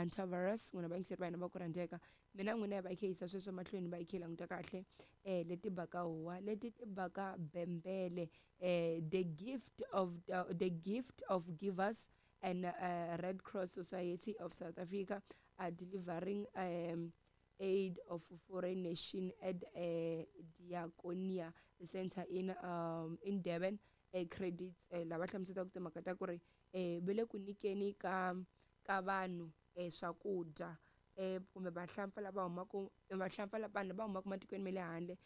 Hantavirus n'wina vayingiseri va hina va ku rhandzeka mina n'wina ya va yi kha yisa sweswo mahlweni va yi kha yi languta kahle leti baka huwa leti ti baka bembele the gift of the gift of givers and Red Cross Society of South Africa are delivering aid of foreign nation at Diakonia Center in Durban credits lava hlamuselaka timhaka ta ku ri va le ku nyikeni ka ka vanhu swakudya kumbe vahlampfa lava humaka vahlampfa vanhu lava humaka matikweni ma le handle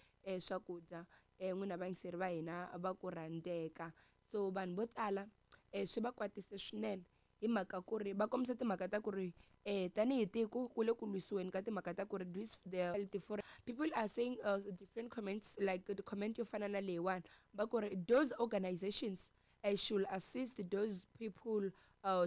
swakudya n'wina vayingiseri va hina va ku rhandzeka so vanhu vo tala swi va kwatise swinene hi mhaka ku ri va kombisa timhaka ta ku ri tanihi tiko ku le ku lwisiweni ka timhaka ta ku ri this the people are saying different comments like the comment yo fana na leyiwani va ku ri those organizations should assist those people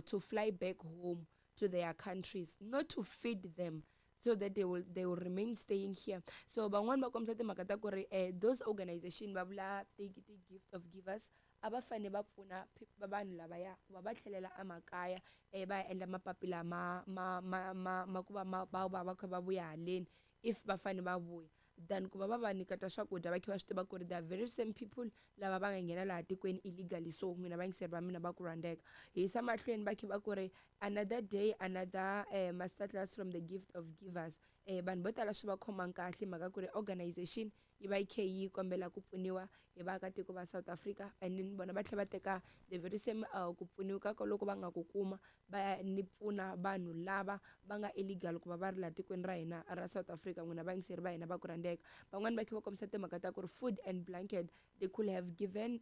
to fly back home to their countries not to feed them so that they will remain staying here. So van'wani va kombisa timhaka ta ku ri those organization va vula ti gift of givers a va fane va pfuna vanhu lavaya ku va va tlhelela emakaya va ya endla mapapila ma ku va ma va va va kha va vuya haleni if va fane va vuya than ku va va va nyiketa swakudya va kha va swi tiva ku ri the very same people lava va nga nghena laha tikweni illegally. So n'wina vayingiseri va mina va ku rhandzeka hi yisa mahlweni va kha va ku ri another day, another master class from the gift of givers. Vanhu vo tala swi va khomanga kahle mhaka ku ri organization yi va yi kha yi kombela ku pfuniwa hi vaakatiko va South Africa and then vona va tlhela va teka the very same ku pfuniwa ka loko va nga ku kuma va ya ni pfuna vanhu lava va nga illegal ku va va ri laha tikweni ra hina ra South Africa. N'wina vayingiseri va hina va ku rhandzeka van'wani va kha va kombisa timhaka ta ku ri food and blanket they could have given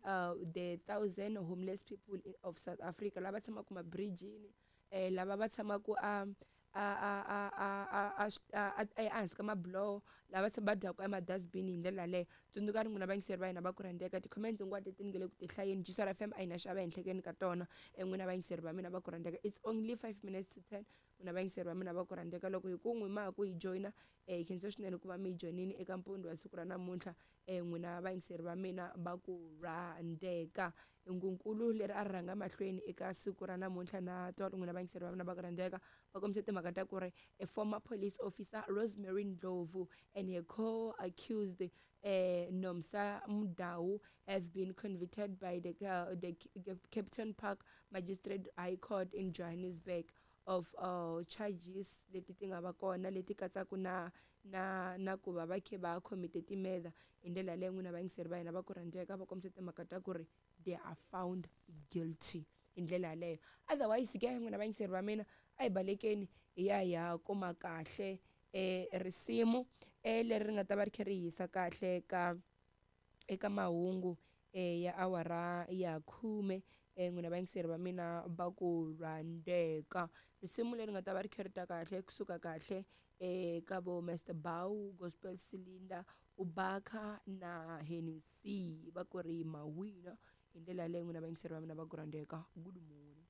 the thousand homeless people of South Africa lava tshamaka mabridgini lava va tshamaka a a a a a a a ehansi ka mabuloho lava se va dyaka emadustbin hi ndlela yaleyo. Tsundzuka ri n'wina vayingiseri va hina va ku rhandzeka ti-comments hinkwato leti ni nge le ku ti hlayeni Juicer FM a yi na xava ehenhlekeni ka tona n'wina vayingiseri va mina va ku rhandzeka. It's only 5 minutes to 10 n'wina vayingiseri va mina va ku rhandzeka loko hi ku n'wi ma ha ku hi joyina hi khensa swinene ku va mi hi joyinini eka mpundzu wa siku ra namuntlha n'wina vayingiseri va mina va ku rhandzeka. Hungunkulu leri a ri rhanga mahlweni eka siku ra namuntlha na tolo n'wina vayingiseri va mina va ku rhandzeka va kombise timhaka ta ku ri a former police officer Rosemary Ndlovu and her co-accused Nomsa Mudau have been convicted by the Kempton Park Magistrate High Court in Johannesburg of charges leti ti nga va kona leti katsaka na ku va va khe va commit ti-murder hi ndlela yaleyo n'wina vayingiseri va hina va ku rhandzeka va kombisa timhaka ta ku ri they are found guilty hi ndlela yaleyo. Otherwise ke n'wina vayingiseri va mina a hi balekeni hi ya hi ya kuma kahle risimu leri ri nga ta va ri kha ri hisa kahle ka eka mahungu ya awara ya 10 n'wina vayingiseri va mina va ku rhandzeka risimu leri nga ta va ri kha ri ta kahle kusuka kahle ka vo Mr Bow Gospel Cylinder Ubaka na Hennessy va ku ri mawina hi ndlela yaleyo n'wina vayingiseri va mina va ku rhandzeka. Good morning.